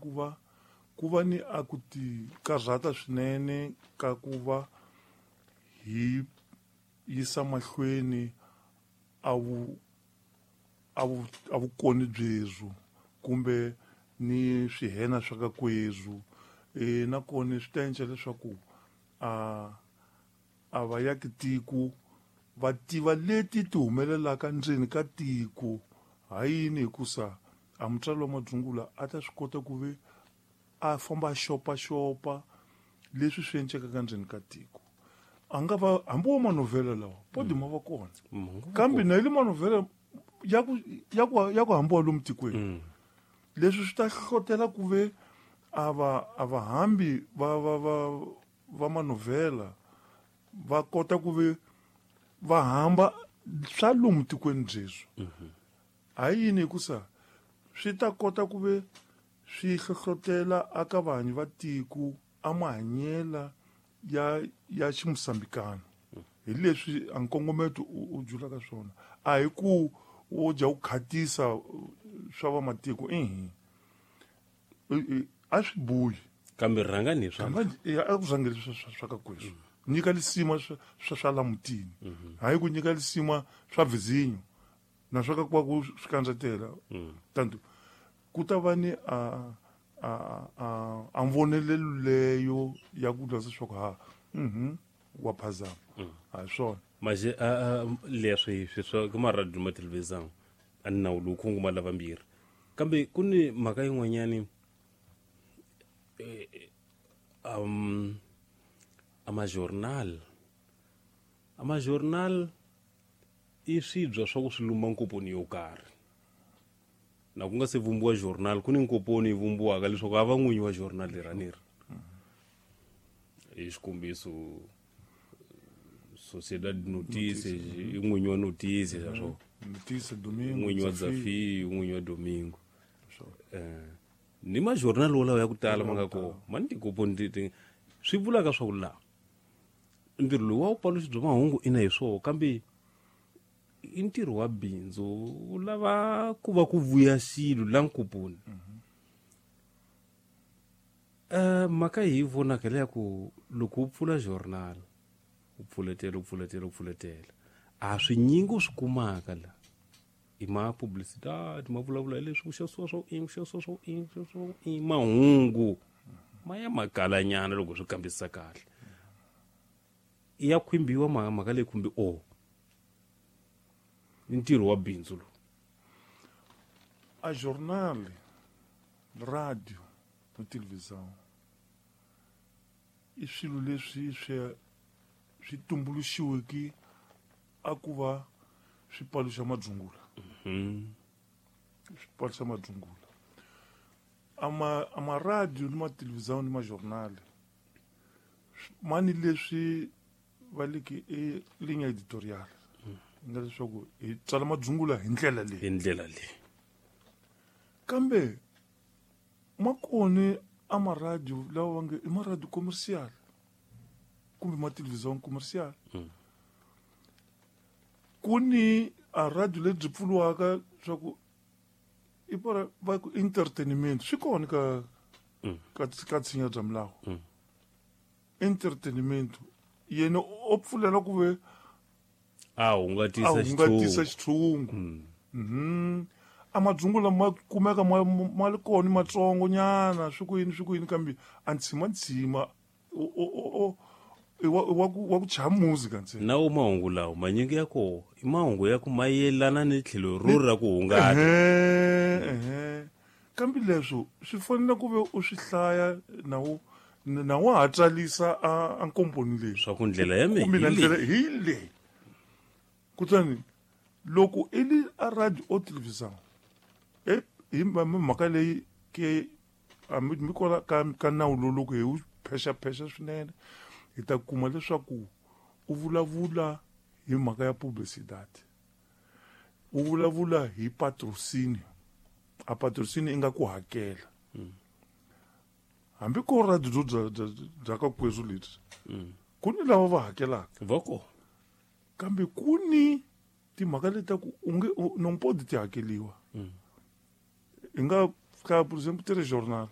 ku va ku va ni a ku ti karhata swinene ka ku va hi yisa mahlweni a vu a vukoni byebyo kumbe ni swihena swa ka kwezwo nakona swi ta endla leswaku a vayaki tiko va tiva leti ti humelelaka ndzeni ka tiko. Hayini? Hikusa a mutswari wa madzungula a ta swi kota ku ve a famba a xopaxopa leswi swi endlekaka ndzeni ka tiko. A nga va hambi wo manovhela lawa podi ma va kona, kambe na ile manovhela ya ku hambiwa lomu tikweni. Leswi swi ta hlotela ku ve a va hambi va manovhela va kota ku ve va hamba swa lomu tikweni byeswo. Hayini? Hikusa swi ta kota ku ve swi hlohlotela aka vanhu va tiko a mahanyela ya ximusambikano. Hi leswi a nkongometo u julaka swona, a hi ku wo dya ku khatisa swa vamatiko ihi a swi buyi. Kambe rhangani hi swa A ku rhangeli swa ka kweswo, nyika lisima swa la mutini, hayi ku nyika lisima swa vizinyo na swa ka kwaku swi kandzatela. Tanto ku ta va ni a mvonelelo leyo ya ku twa leswaku ha wa phazama a hi swona. Maje leswi swi swa ka maradiyo ma television a ni nawu lowu khunguma lavambirhi, kambe ku ni mhaka yin'wanyani a majournal i swibya swa ku swi lumba nkoponi yo karhi. Na ku nga se vumbiwa journal, ku ni nkoponi yi vumbiwaka leswaku a va n'winyi wa journal leri a ni ri hi xikombiso Sociedade de Notícias i n'winyi wa Notícias swa Notícia Domingo. N'winyi wa Desafio, n'winyi wa Domingo. Ni majournal wolawo ya ku tala ma nga kona ma ni tikoponi ti swi vulaka swa ku laha ntirho lowu wa vupaluxi bya mahungu ina hi swoho, kambe i ntirho wa bindzu wu lava ku va ku vuya xilo la nkoponi. Mhaka hi yi vonaka leya ku loko u pfula journal, u pfuletela, u pfuletela, u pfuletela, a swinyingi u swi kumaka la i ma publicidade, ma vulavula hi leswi ku xavisiwa swo i ku xavisiwa swo i ku xavisiwa i mahungu ma ya makalanyana. Loko swi kambisisa kahle ya khwimbiwa mhaka leyi khumbi o i ntirho wa bindzu lowu. A jornal, radio na televisão i swilo leswi swi tumbuluxiweke a ku va swi paluxa madzungula, swi paluxa madzungula. Ama radio ni matelevisão ni majournal ma ni leswi va leki i ligne editorial nga leswaku hi tsala madzungula hi ndlela leyi. Hi ndlela leyi. Kambe ma kone a maradio lawa va nge i maradio commercial kumbe ma television commercial. Ku ni a radio lebyi pfuriwaka swa ku i para va ku entertainment, swi kona ka tshinya bya milawu. Entertainment yena o pfulela ku ve a hungatisa. A hungatisa xitshungu. A madzungu lama kumeka ma li kona matsongo nyana, swi ku yini, swi ku yini, kambe a ntshima ntshima i wa ku chaya music ntsena. Na wo mahungu lawa manyingi ya koho i mahungu ya ku ma yelana ni tlhelo ro ra ku hungata. Ehe, kambe leswo swi fanele ku ve u swi hlaya na wa ha tsalisa a nkomponi leyi. Swa ku ndlela ya kumbe na mehe ndlela hi leyi. Kutani loko i li a radio o televisão hi mhaka leyi ke hambi mi kwala ka nawu lowu, loko hi wu phexaphexa swinene hi ta kuma leswaku u vulavula hi mhaka ya publicidade, u vulavula hi patrocínio. A patrocínio i nga ku hakela hambi ko radio bya ka kwezu lebyi, ku ni lava va hakelaka. Va kona. Kambe ku ni timhaka leti ta ku u nge non pode ti hakeliwa. Hi nga ka, por exemplo, telejournal.